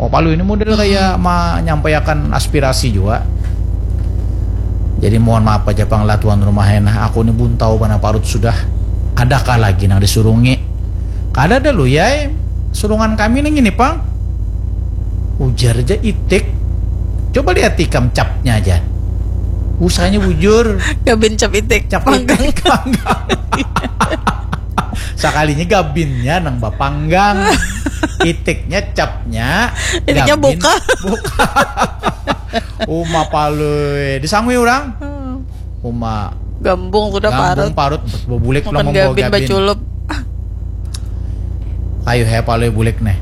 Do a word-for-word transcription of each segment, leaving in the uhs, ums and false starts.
Palu ini model kayak menyampaikan aspirasi juga. Jadi mohon maaf aja pang lah tuan rumah, nah aku ni buntau banar parut sudah. Adakah lagi nang disurungi? Kada ada lu ya, surungan kami nang ini pang. Ujar aja Itik. Coba lihat ikam capnya aja. Usahanya bujur. Gabin cap Itik. Cap Itik panggang. Sakalinya gabinnya nang bapanggang. Itiknya capnya. Itiknya buka. Buka. Uma palui disangui orang. Uma gambung sudah parut. Gambung parut, bebulik pulang membawa gabin. Baculup. Ayo he palui bulik nih.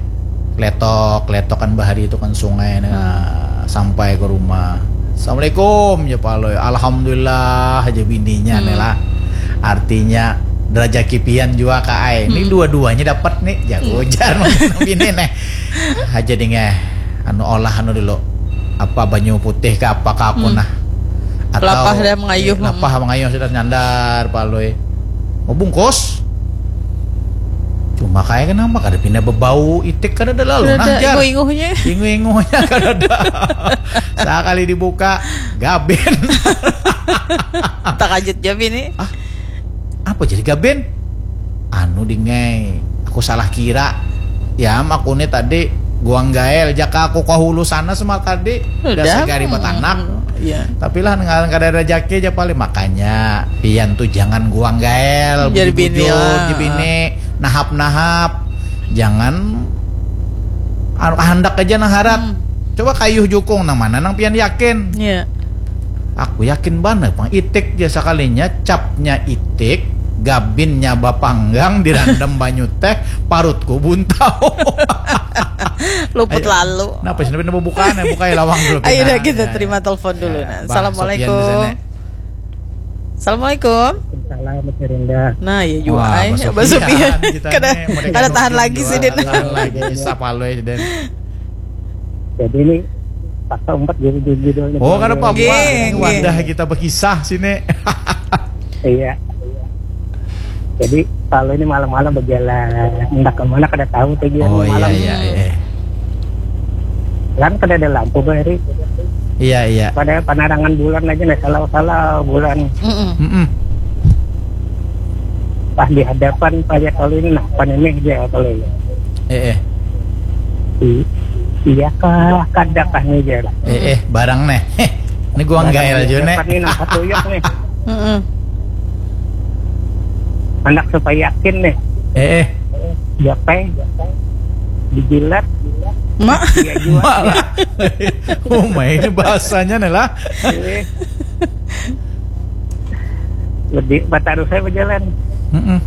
Letok, letok kan bahari itu kan sungai nih. Sampai ke rumah. Assalamualaikum ya palui. Alhamdulillah aja bininya nih lah. Artinya derajat kipian juga ka ai. Ini dua-duanya dapat nih. Jago jar bini nih. Aja dingeh. Anu olah anu dulu. Apa banyu putih ke apa ke aku nah. Atau Lapah dah mengayuh. Lapah mengayuh sudah nyandar palui. Mau bungkus. Cuma kayak kenapa kada pindah bebau Itik kada ada lalu nah jar. Inguh-inguhnya. Inguh-inguhnya kada ada. Sekali dibuka gabin. Takajut ja bini. Apa jadi gabin? Anu dingai, aku salah kira. Ya aku ni tadi guang gael jaka aku ke hulu sana semar tadi. Udah segari batanak. Iya. Tapi lah ngaran kada ada jaki aja paling, makanya pian tuh jangan guang gael. Jadi bini Bujur-bujur, lah. Jadi bini nahap-nahap. Jangan anu kahandak aja nang harat. Coba kayuh jukung nang mana nang pian yakin? Iya. Aku yakin banar pang Itik ja sakalinya capnya Itik, gabinnya bapanggang dirandam banyu teh, parutku buntau. Luput Ayo. Lalu. Napa sih, napa buka nih, buka lawang dulu. Ayo Pina. dah kita Ya. Terima telepon dulu. Ya, Nah. Bah Assalamualaikum. Sofian di sana. Assalamualaikum. Salam Mas Rinda. Nah, ya juga. Wah, Ay, Bah Bah Sofian. kita Kada nih, mau kada tahan dikandung lagi dua, sih, Din. Tahan lagi, isap halus, Den. Jadi ini paksa empat jadi judulnya. Oh, kada apa-apa. Nggih, Ini nggih. Wadah kita berkisah sini. Iya. Jadi kalau ini malam-malam berjalan, hendak kemana kada tahu tujuan Oh iya malam. Iya iya. Kan kada ada lampu bahari. Iya iya. Pada penerangan bulan aja nih, salah-salah bulan. Mm-mm. Mm-mm. Pas di hadapan palihat kalau ini, nah, pan ini dia kalau ini. Eh eh. I- iya kah, kada kah nih dia. Eh eh, barang nih. Ini guang gael juga nih. Dapat nih, nah, satu yuk nih. Mm-mm. Anak supaya yakin nih. Eh eh. Japai, dijilat, Mak. dia juga. Malah. Oh, main ini bahasanya nih lah. Ini. Lebih batarus saya berjalan. Mm-mm.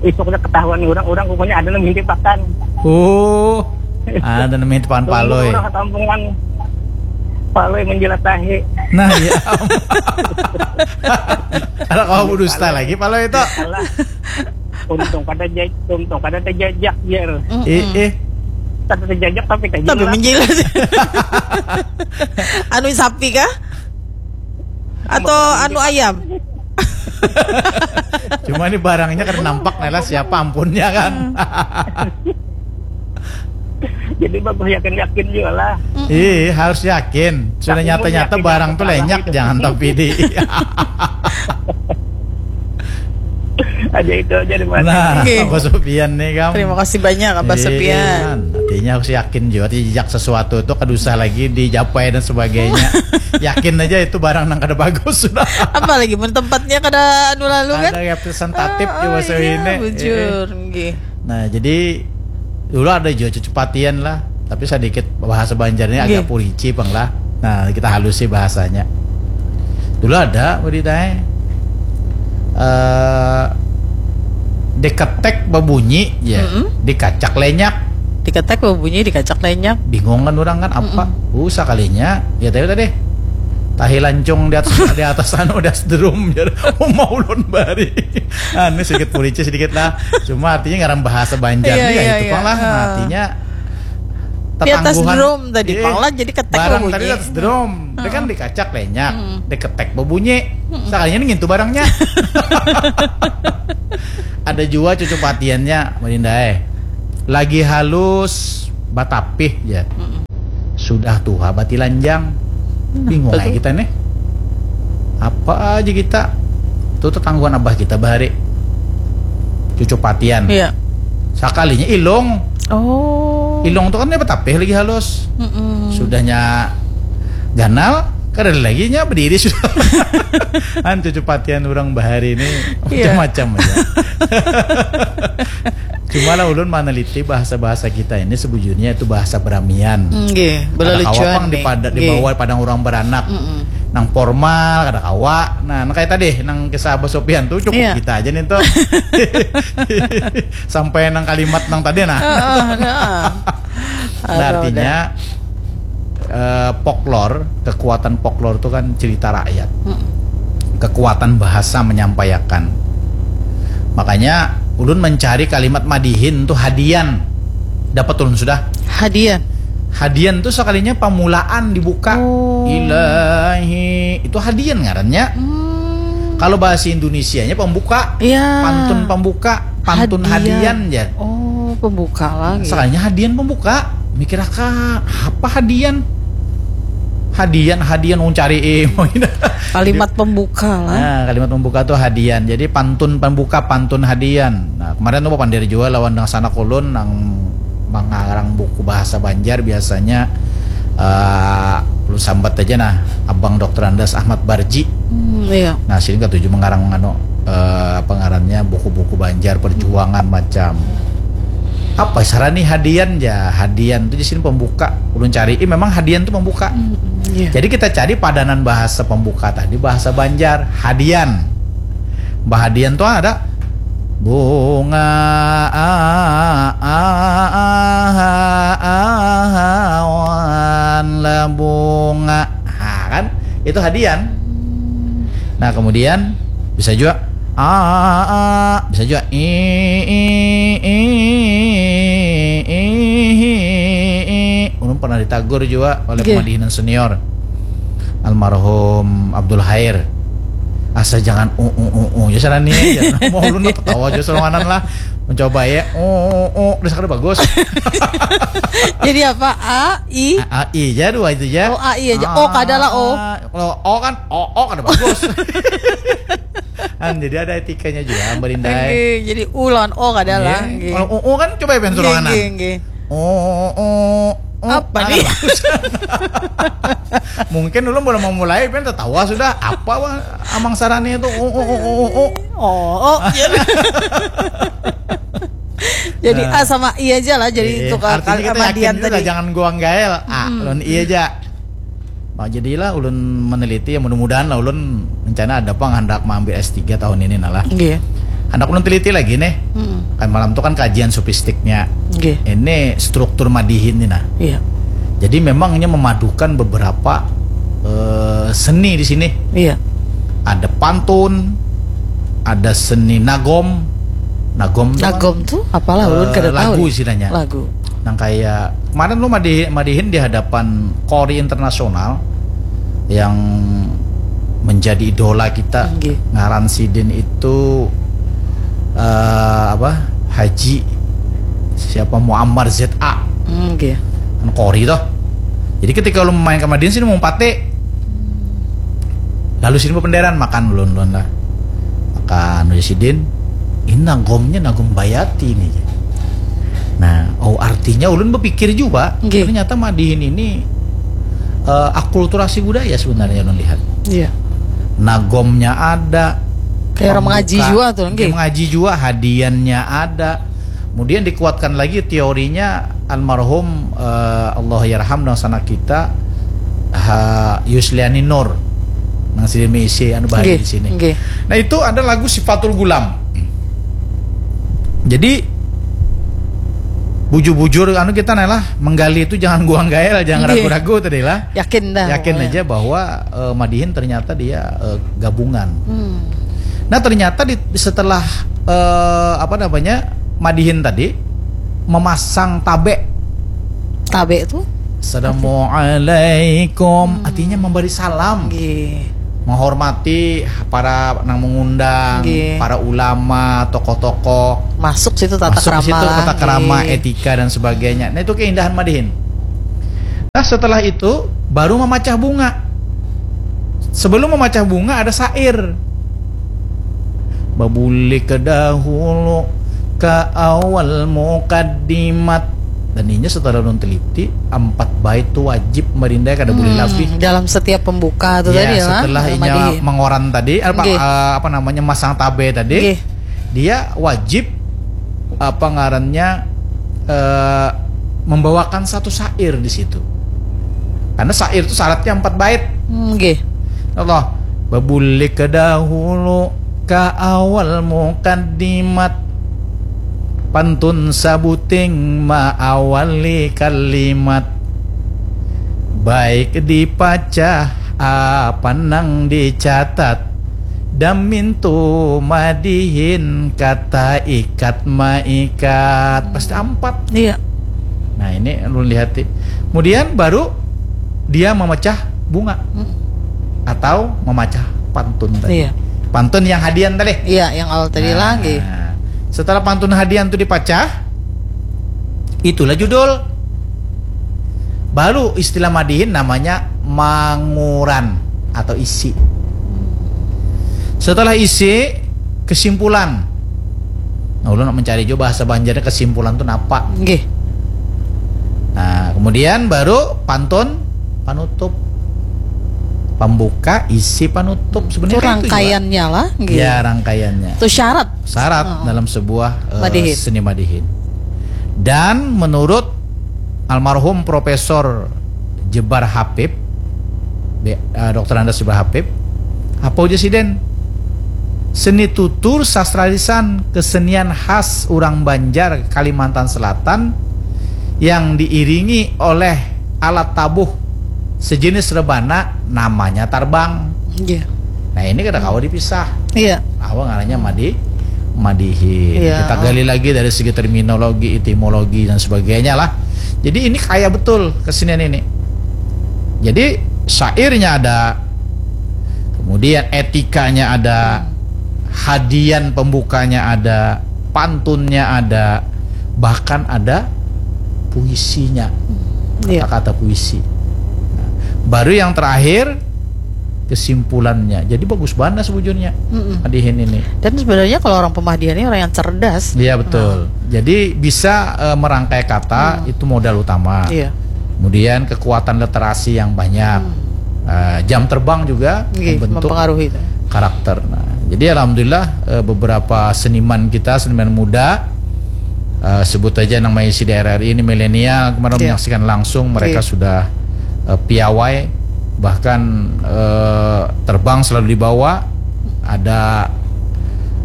Isuknya ketahuan orang, orang rupanya ada nang mimpi pakan. Oh. Ada namanya tepan palui. Orang kampungan palui menjilat tahi. Nah, iya. Ada kau berdusta lagi palui itu. Salah. Untung kada jaj, untung kada terjajak jer. Eh eh. Kada terjajak tapi Tapi terjilat. Menjilat. Anu sapi kah? Atau anu ayam? Cuma ini barangnya kada nampak nih lah siapa ampunnya kan. Jadi bagus yakin-yakin juga lah. Iya, harus yakin. Sudah nyata-nyata barang tuh lenyap, jangan tapi di. Aja itu aja di mana. Nah, Oke. Abah Sofian nih kamu. Terima kasih banyak Abah Iya, Sofian. Artinya harus yakin juga, jejak sesuatu itu kada usah lagi dijapai dan sebagainya. Yakin aja itu barang nang kada bagus sudah. Apalagi mun tempatnya kada anu lalu kan? Ada representatif Ah, di bahasa iya, ini. Bujur, nggih. Nah, jadi dulu ada juga cucu patian lah, tapi sedikit bahasa Banjarnya agak Nggih. purici pang lah. Nah, kita halusi bahasanya. Dulu ada berita eh diketek babunyi ya, Mm-mm. dikacak lenyak. Diketek babunyi, dikacak lenyak. Bingung kan orang kan apa? Uh, sakalinya ya tadi tadi tahi lancung di atas di atas anu di atas drum jar. Oh, mau ulun bari. Anu sedikit purici sedikit lah. Cuma artinya ngaran bahasa Banjar Iya, nih ya iya, itu iya. pang lah. Ah. Artinya Di atas tetangguhan. drum tadi, Eh, pang lah, jadi ketek barang bunyi. Tadi di atas drum. Dia kan diketek lenyak, diketek babunyi. Sakalinya ini ngintu barangnya. Ada juga cucu patiannya, Marinda eh. Lagi halus batapih ya. Sudah tuha batilanjang. Bingung aja kita nih. Apa aja kita. Itu tetangguan abah kita bahari. Cucu patian. Iya. Sakalinya ilung. Oh. Ilung tuh kan dia betapih lagi halus. Mm-mm. Sudahnya ganal, kada lagi nya berdiri sudah. Kan cucu patian orang bahari ini. Iya. Macam-macam aja. Cuma lah ulun meneliti bahasa-bahasa kita ini sebujurnya itu bahasa Brahmian. Nggih, belalucuan pang di pada, di bawah padang orang beranak. Mm-mm. Nang formal kada kawa. Nah, nang kayak tadi nang kisah Abah Sopian tuh cukup. Iya. Kita aja nih tuh. Sampai nang kalimat nang tadi nah. Heeh, heeh. Nah, artinya eh, folklore, kekuatan folklore itu kan cerita rakyat. Mm. Kekuatan bahasa menyampaikan. Makanya ulun mencari kalimat madihin tuh hadian. Dapat ulun sudah. Hadian. Hadian tuh sekalinya pamulaan dibuka. Oh. Ilahi. Itu hadian ngarannya. Hmm. Kalau bahasa Indonesianya pembuka. Iya. Pantun pembuka, pantun hadian, hadian ya. Oh, pembuka lagi. Sekalinya hadian pembuka. Mikir akan apa hadian? Hadian, hadian, wong cari, eh, kalimat pembuka lah. Nah, kalimat pembuka tuh hadian. Jadi pantun pembuka, pantun hadian. Nah, kemarin tuh pandir juga lawan dengan sanak ulun nang mengarang buku bahasa Banjar biasanya eh lu sambat aja nah Abang Doktor Andas Ahmad Barji. Hmm, iya. Nah, sini katuju mengarang anu eh, apa ngarannya buku-buku Banjar perjuangan macam apa sarani hadian ya hadian tuh di sini pembuka ulun cari ini memang hadian tuh pembuka. Hmm, iya. Jadi kita cari padanan bahasa pembuka tadi bahasa Banjar hadian. Bahadian tuh ada bunga awan lah bunga. Nah, kan? Itu hadian. Nah, kemudian bisa juga a bisa juga i i i i i ulun pernah ditagur juga oleh pemadihinan senior almarhum Abdul Hair. Asa jangan u u u u ya sana nih ya. Mau ulun apa tahu aja seranganan lah. Mencoba ya. U u u udah sakit bagus. Jadi apa? A, I? A, I aja dua itu aja. Oh, A, I aja. O kada lah, O. Kalau O kan, O, O kada bagus. Kan jadi ada etikanya juga, Mbak Linda. Jadi U lawan O kada lah. Kalau U, U kan coba ya pengen suruh anak. O, O, O, O. Apa nih? Mungkin dulu belum memulai, pengen tertawa sudah. Apa wah, Amang Sarani itu? O, O, O, O, O. O, O. Jadi nah. A sama I aja lah jadi iya, tukar artinya kita yakin juga tadi. Jangan guang gael A hmm. Lawan I aja. Nah, jadilah ulun meneliti ya mudah-mudahan lah ulun rencana ada pang hendak mengambil S tiga tahun ini nah lah. Iya. Hendak ulun teliti lagi nih. Hmm. Kan malam tuh kan kajian sopistiknya. Iya. Ini struktur madihin nih nah. Iya. Jadi memangnya memadukan beberapa uh, seni di sini. Iya. Ada pantun, ada seni nagom. Nagom, nagom tuh, tuh apalah ulun uh, kada tahu. Lagu istilahnya. Lagu. Nang kayak kemarin lu madihin, madihin di hadapan Kori Internasional yang menjadi idola kita. Nggih. Ngaran sidin itu uh, apa? Haji siapa Muammar Z A. Nggih. Kan Kori toh. Jadi ketika lu main ke Madinah sini mau pate. Lalu sini penderan makan ulun ulun lah. Makan udah sidin. Ini nagomnya nagom bayati nih. Nah, oh artinya ulun berpikir juga okay. Ternyata madihin ini uh, akulturasi budaya sebenarnya ulun lihat. Iya. Nagomnya ada. Kayak orang mengaji juga tuh, okay. Mengaji juga, hadiannya ada. Kemudian dikuatkan lagi teorinya almarhum uh, Allah yarham dan sana kita ha, Yusliani Nur nang sini misi anu bahari okay. Di sini. Okay. Nah itu ada lagu Sifatul Gulam. Jadi bujur-bujur anu kita nih lah menggali itu jangan guang gael jangan ragu-ragu tadi lah yakin dah yakin pokoknya. Aja bahwa uh, madihin ternyata dia uh, gabungan hmm. Nah ternyata di, setelah uh, apa namanya madihin tadi memasang tabe tabe tuh assalamualaikum hmm. Artinya memberi salam okay. Menghormati para nang mengundang, okay. Para ulama, tokoh-tokoh. Masuk situ tata masuk krama, situ, tata krama, okay. Etika dan sebagainya. Nah, itu keindahan madihin. Nah, setelah itu baru memacah bunga. Sebelum memacah bunga ada syair. Babulik ke dahulu ke awal mukaddimat. Dan inya setelah ulun teliti, empat bait tu wajib marindai, kada boleh Hmm, labih. Dalam setiap pembuka tu Ya, tadi lah. setelah Dalam inya madihin. Mengoran tadi, apa Nggih. eh, apa namanya, masang tabe tadi, Nggih. dia wajib apa ngarannya eh, membawakan satu syair di situ. Karena syair itu syaratnya empat bait. Hmm, Nggih. Allah, babulik ke dahulu ke awal mukaddimat, pantun sabuting maawali kalimat, baik dipacah apa nang dicatat, damintu madihin kata ikat maikat, pasti empat. Iya. Nah, ini ulun lihati. Kemudian baru dia memecah bunga Hmm. atau memacah pantun tadi. Iya. Pantun yang hadian tadi. Iya, yang awal tadi Nah, lah nggih. Setelah pantun hadian itu dipacah, itulah judul. Baru istilah madihin namanya manguran atau isi. Setelah isi, kesimpulan. Nah, ulun nak mencari juga bahasa Banjarnya kesimpulan tu napa. Nggih. Nah, kemudian baru pantun panutup. Pembuka, isi, panutup. Sebenarnya Itu kan itu juga. Rangkaiannya lah nggih. Ya, rangkaiannya. Itu syarat. Syarat Oh. Dalam sebuah eh, Madihin. Seni madihin. Dan menurut almarhum Profesor Jebar Habib, B- eh, Doktor Andes Jebar Habib, apa ujar siden? Seni tutur sastra lisan, kesenian khas urang Banjar Kalimantan Selatan yang diiringi oleh alat tabuh sejenis rebana namanya tarbang. Iya. Nah, ini kada kawa dipisah. Iya. Apa ngarannya madi madihin. Iya. Kita gali lagi dari segi terminologi, etimologi dan sebagainya lah. Jadi ini kaya betul kesenian ini. Jadi syairnya ada, kemudian etikanya ada, hadian pembukanya ada, pantunnya ada, bahkan ada puisinya. Iya. Kata-kata puisi. Nah, baru yang terakhir kesimpulannya. Jadi bagus banget sebujurnya. Mm-mm. Madihin ini. Dan sebenarnya kalau orang pemadihan ini orang yang cerdas. Iya, betul. Jadi bisa eh, merangkai kata, itu modal utama. Iya. Kemudian kekuatan literasi yang banyak. Eh, jam terbang juga Nggih, membentuk mempengaruhi itu. Karakter. Nah, jadi alhamdulillah eh, beberapa seniman kita, seniman muda, eh, sebut aja nang maisi di R R I ini, milenial, kemarin Iya. Menyaksikan langsung, mereka Iya. Sudah eh, piawai, bahkan eh, terbang selalu dibawa, ada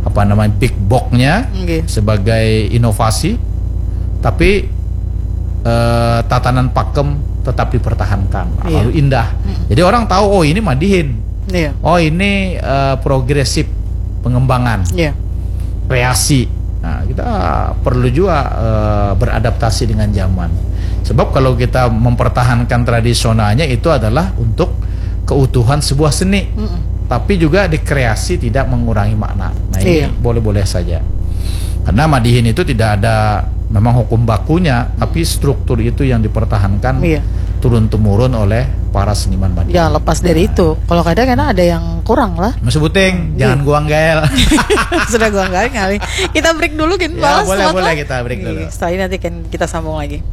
apa namanya, big box-nya Nggih. Sebagai inovasi, tapi eh, tatanan pakem tetap dipertahankan. Nah, Iya. Lalu indah. Jadi orang tahu, oh, ini madihin. Iya. Oh, ini eh, progresif pengembangan, Iya. Kreasi. Nah, kita perlu juga eh, beradaptasi dengan zaman. Sebab kalau kita mempertahankan tradisionalnya, itu adalah untuk keutuhan sebuah seni. Tapi juga dikreasi tidak mengurangi makna. Nah, ini Iya. Boleh-boleh saja. Karena madihin itu tidak ada memang hukum bakunya, tapi struktur itu yang dipertahankan Iya. turun-temurun oleh para seniman madihin. Ya, lepas dari itu, kalau kadang kan ada yang kurang lah. Mas Buting, jangan guang gael. Sudah guang gael ngalih. Kita break dulu, gin. Ya, boleh, boleh, kita break dulu. Setelah ini nanti kan kita sambung lagi.